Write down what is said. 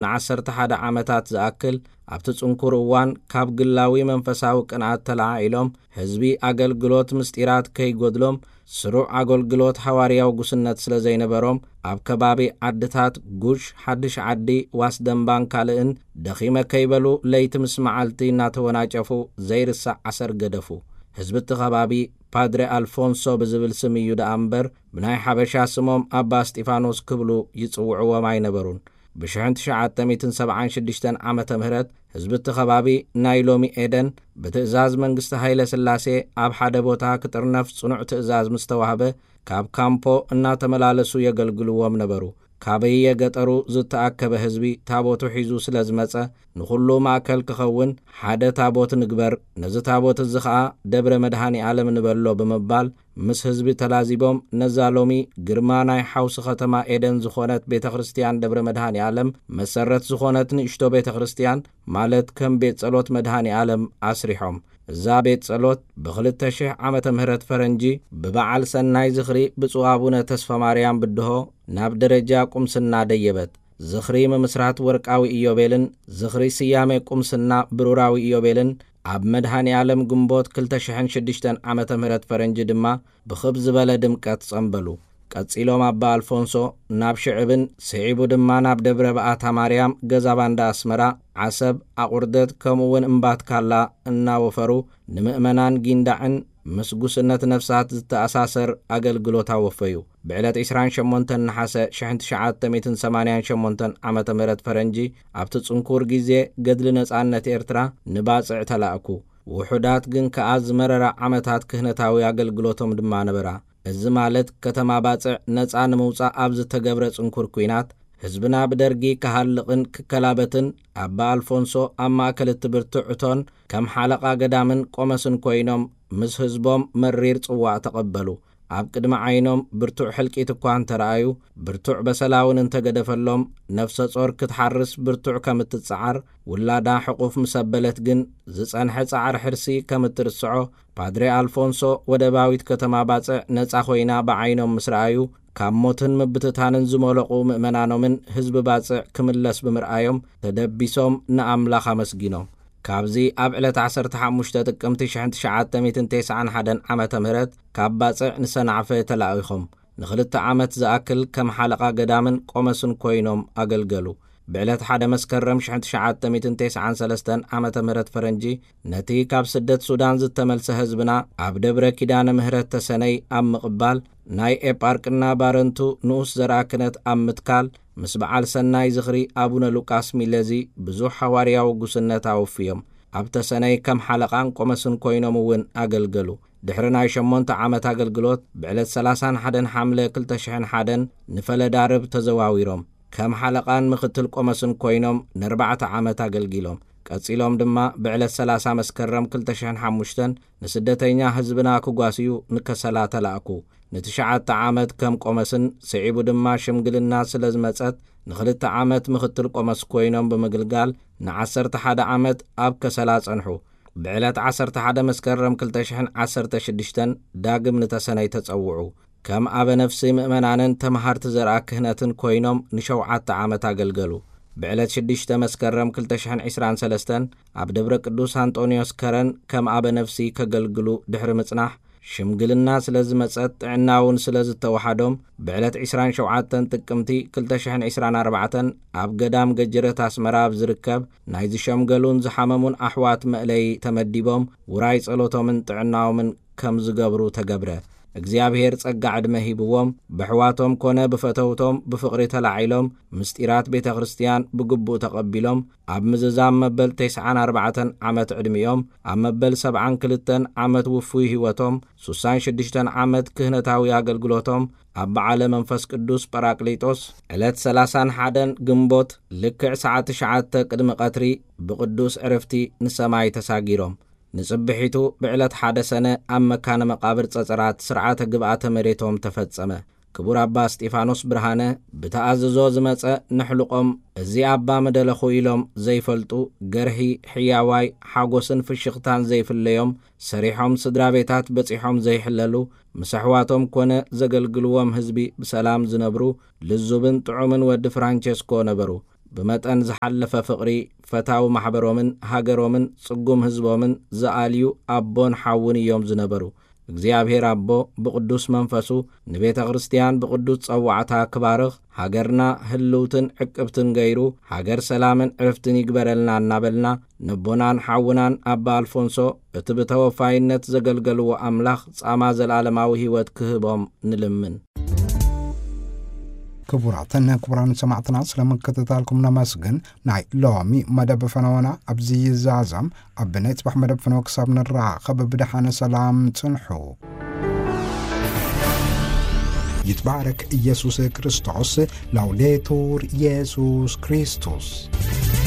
ንዓሰርተ ሓደ ዓመታት ዝኣክል ኣብቲ ጽንኩር እዋን ካብ ግላዊ መንፈሳዊ ቅንኣት ተለዓዒሎም፣ ህዝቢ ኣገልግሎት ምስጢራት ከይጎድሎም፣ ስሩዕ ኣገልግሎት ሃዋርያዊ ጉስነት ስለ ዘይነበሮም፣ ኣብ ከባቢ ዓድታት ጉሽ፣ ሓድሽ ዓዲ፣ ዋስደንባን ካልእን ደኺመ ከይበሉ ለይቲ ምስ መዓልቲ እናተወናጨፉ ዘይርሳዕ ኣሰር ገደፉ። ህዝቢ እቲ ከባቢ ፓድረ ኣልፎንሶ ብዝብል ስም እዩ ደኣ እምበር፣ ብናይ ሓበሻ ስሞም ኣባ እስጢፋኖስ ክብሉ ይጽውዕዎም ኣይነበሩን። ብሽሕን ትሽዓተ ሚእትን ሰብዓን ሽዱሽተን ዓመተ ምህረት ህዝቢ እቲ ከባቢ ናይ ሎሚ ኤደን ብትእዛዝ መንግስቲ ሃይለ ስላሴ ኣብ ሓደ ቦታ ክጥርነፍ ጽኑዕ ትእዛዝ ምስ ተዋህበ፣ ካብ ካምፖ እናተመላለሱ የገልግልዎም ነበሩ። ካበየ ገጠሩ ዝተኣከበ ህዝቢ ታቦቱ ሒዙ ስለ ዝመጸ፣ ንኹሉ ማእከል ክኸውን ሓደ ታቦት ንግበር፣ ነዚ ታቦት እዚ ኸኣ ደብረ መድሃኒ ዓለም ንበሎ ብምባል፣ ምስ ህዝቢ ተላዚቦም፣ ነዛ ሎሚ ግርማ ናይ ሓውሲ ከተማ ኤደን ዝኾነት ቤተ ክርስቲያን ደብረ መድሃኒ ዓለም፣ መሰረት ዝኾነት ንእሽቶ ቤተ ክርስቲያን፣ ማለት ከም ቤት ጸሎት መድሃኒ ዓለም ኣስሪሖም። እዛ ቤት ጸሎት ብኽልተ ሽሕ ዓመተ ምህረት ፈረንጂ ብበዓል ሰናይ ዝኽሪ ብፁዕ ኣቡነ ተስፋ ማርያም ብድሆ ናብ ደረጃ ቁምስና ደየበት። ዝኽሪ ምምስራት ወርቃዊ ኢዮቤልን ዝኽሪ ስያሜ ቁምስና ብሩራዊ ኢዮቤልን ኣብ መድሃኒ ዓለም ግንቦት ክልተ ሽሕን ሽዱሽተን ዓመተ ምህረት ፈረንጂ ድማ ብኽብ ዝበለ ድምቀት ጸንበሉ። ቀጺሎም ኣባ ኣልፎንሶ ናብ ሽዕብን ስዒቡ ድማ ናብ ደብረ በኣታ ማርያም ገዛ ባንዳ ኣስመራ፣ ዓሰብ፣ ኣቑርደት ከምኡ እውን እምባትካላ እናወፈሩ ንምእመናን ጊንዳዕን ምስ ጉስነት ነፍሳት ዝተኣሳሰር ኣገልግሎት ኣወፈዩ። ብዕለት ዕስራን ሸሞንተን ነሓሰ ሽሕን ትሽዓተ ሚእትን ሰማንያን ሸሞንተን ዓመተ ምህረት ፈረንጂ ኣብቲ ጽንኩር ግዜ ገድሊ ነጻነት ኤርትራ ንባጽዕ ተላእኩ። ውሑዳት ግን ከኣ ዝመረራ ዓመታት ክህነታዊ ኣገልግሎቶም ድማ ነበራ። እዚ ማለት ከተማ ባጽዕ ነጻ ንምውጻእ ኣብ ዝተገብረ ጽንኩር ኲናት ህዝብና ብደርጊ ክሃልቕን ክከላበትን ኣባ ኣልፎንሶ ኣብ ማእከል እቲ ብርቱዕ እቶን ከም ሓለቓ ገዳምን ቆመስን ኮይኖም ምስ ህዝቦም መሪር ጽዋእ ተቐበሉ። ኣብ ቅድሚ ዓይኖም ብርቱዕ ሕልቂት እኳ እንተረኣዩ፣ ብርቱዕ በሰላ እውን እንተገደፈሎም፣ ነፍሰ ጾር ክትሓርስ ብርቱዕ ከም እትጸዓር፣ ውላዳ ሕቑፍ ምስ ኣበለት ግን ዝጸንሐ ጻዕሪ ሕርሲ ከም እትርስዖ፣ ፓድሬ ኣልፎንሶ ወደባዊት ከተማ ባጽዕ ነጻ ኮይና ብዓይኖም ምስ ረኣዩ፣ ካብ ሞትን ምብትታንን ዝመለቑ ምእመናኖምን ህዝቢ ባጽዕ ክምለስ ብምርኣዮም ተደቢሶም ንኣምላኽ ኣመስጊኖም። ካብዚ ኣብ ዕለት ዓሰርተ ሓሙሽተ ጥቅምቲ ሽሕን ትሽዓተ ሚእትን ተስዓን ሓደን ዓመተ ምህረት ካብ ባጽዕ ንሰናዕፈ ተላኢኾም ንኽልተ ዓመት ዝኣክል ከም ሓለቓ ገዳምን ቆመስን ኮይኖም ኣገልገሉ። ብዕለት ሓደ መስከረም ሽሕን ትሽዓተ ሚእትን ተስዓን ሰለስተን ዓመተ ምህረት ፈረንጂ ነቲ ካብ ስደት ሱዳን ዝተመልሰ ህዝብና ኣብ ደብረ ኪዳነ ምህረት ተሰነይ ኣብ ምቕባል፣ ናይ ኤጳርቅና ባረንቱ ንኡስ ዘርኣ ክህነት ኣብ ምትካል፣ ምስ በዓል ሰናይ ዝኽሪ ኣቡነ ሉቃስ ሚለዚ ብዙሕ ሃዋርያዊ ጉስነት ኣወፍዮም። ኣብ ተሰነይ ከም ሓለቓን ቆመስን ኮይኖም እውን ኣገልገሉ። ድሕሪ ናይ ሸሞንተ ዓመት ኣገልግሎት፣ ብዕለት ሰላሳን ሓደን ሓምለ ክልተ ሽሕን ሓደን ንፈለዳርብ ተዘዋዊሮም። ከም ሓለቓን ምኽትል ቆመስን ኮይኖም ንኣርባዕተ ዓመት ኣገልጊሎም። ቀጺሎም ድማ ብዕለት ሰላሳ መስከረም ክልተ ሽሕን ሓሙሽተን ንስደተኛ ህዝብና ክጓስዩ ንከሰላ ተላእኩ። ንትሽዓተ ዓመት ከም ቆመስን ስዒቡ ድማ ሽምግልና ስለ ዝመጸት ንኽልተ ዓመት ምኽትል ቆመስ ኮይኖም ብምግልጋል ንዓሰርተ ሓደ ዓመት ኣብ ከሰላ ጸንሑ። ብዕለት ዓሰርተ ሓደ መስከረም ክልተ ሽሕን ዓሰርተ ሽዱሽተን ዳግም ንተሰነይ ተጸውዑ። ከም ኣበ ነፍሲ ምእመናንን ተመሃርቲ ዘርኣ ክህነትን ኮይኖም ንሸውዓተ ዓመት ኣገልገሉ። ብዕለት ሽዱሽተ መስከረም ክልተ ሽሕን ዕስራን ሰለስተን ኣብ ደብረ ቅዱስ ኣንጦንዮስ ከረን ከም ኣበ ነፍሲ ከገልግሉ ድሕሪ ምጽናሕ፣ ሽምግልና ስለ ዝመጸት ጥዕና እውን ስለ ዝተወሓዶም፣ ብዕለት ዕስራን ሸውዓተን ጥቅምቲ ክልተ ሽሕን ዕስራን ኣርባዕተን ኣብ ገዳም ገጀረት ኣስመራ ኣብ ዝርከብ ናይ ዝሸምገሉን ዝሓመሙን ኣሕዋት መእለዪ ተመዲቦም ውራይ ጸሎቶምን ጥዕናኦምን ከም ዝገብሩ ተገብረ። እግዚኣብሔር ጸጋ ዕድመ ሂብዎም፣ በሕዋቶም ኮነ ብፈተውቶም ብፍቕሪ ተላዒሎም፣ ምስጢራት ቤተ ክርስቲያን ብግቡእ ተቐቢሎም፣ ኣብ ምዝዛም መበል ተስዓን ኣርባዕተን ዓመት ዕድሚኦም፣ ኣብ መበል ሰብዓን ክልተን ዓመት ውፉይ ህይወቶም፣ ሱሳን ሽዱሽተን ዓመት ክህነታዊ ኣገልግሎቶም፣ ኣብ በዓለ መንፈስ ቅዱስ ጳራቅሊጦስ፣ ዕለት ሰላሳን ሓደን ግንቦት፣ ልክዕ ሰዓት ትሽዓተ ቅድሚ ቀትሪ፣ ብቅዱስ ዕርፍቲ ንሰማይ ተሳጊሮም። ንጽብሒቱ ብዕለት ሓደ ሰነ ኣብ መካነ መቃብር ጸጸራት ስርዓተ ግብኣተ መሬቶም ተፈጸመ። ክቡር ኣባ እስጢፋኖስ ብርሃነ ብተኣዝዞ ዝመጸ ንሕልቆም፣ እዚ ኣባ ምደለኹ ኢሎም ዘይፈልጡ፣ ገርሂ፣ ሕያዋይ፣ ሓጎስን ፍሽኽታን ዘይፍለዮም፣ ሰሪሖም ስድራ ቤታት በጺሖም ዘይሕለሉ፣ ምስ ኣሕዋቶም ኮነ ዘገልግልዎም ህዝቢ ብሰላም ዝነብሩ፣ ልዙብን ጥዑምን ወዲ ፍራንቸስኮ ነበሩ። ብመጠን ዝሓለፈ ፍቕሪ፣ ፈታዊ ማሕበሮምን ሃገሮምን ጽጉም ህዝቦምን ዝኣልዩ ኣቦን ሓውን እዮም ዝነበሩ። እግዚኣብሔር ኣቦ ብቕዱስ መንፈሱ ንቤተ ክርስቲያን ብቕዱስ ጸዋዕታ ክባርኽ፣ ሃገርና ህልውትን ዕቅብትን ገይሩ፣ ሃገር ሰላምን ዕርፍትን ይግበረልና እናበልና፣ ነቦናን ሓውናን ኣባ ኣልፎንሶ፣ እቲ ብተወፋይነት ዘገልገልዎ ኣምላኽ ጻማ ዘላለማዊ ህይወት ክህቦም ንልምን። ክቡራትን ክቡራን ሰማዕትና፣ ስለ ምክትታልኩም ነመስግን። ናይ ሎሚ መደብ ፈነወና ኣብዚ ይዛዘም። ኣብ ናይ ጽባሕ መደብ ፈነወ ክሳብ ንራኸብ ብደሓነ ሰላም ጽንሑ። ይትባረክ ኢየሱስ ክርስቶስ። ላውዴቱር ኢየሱስ ክርስቶስ።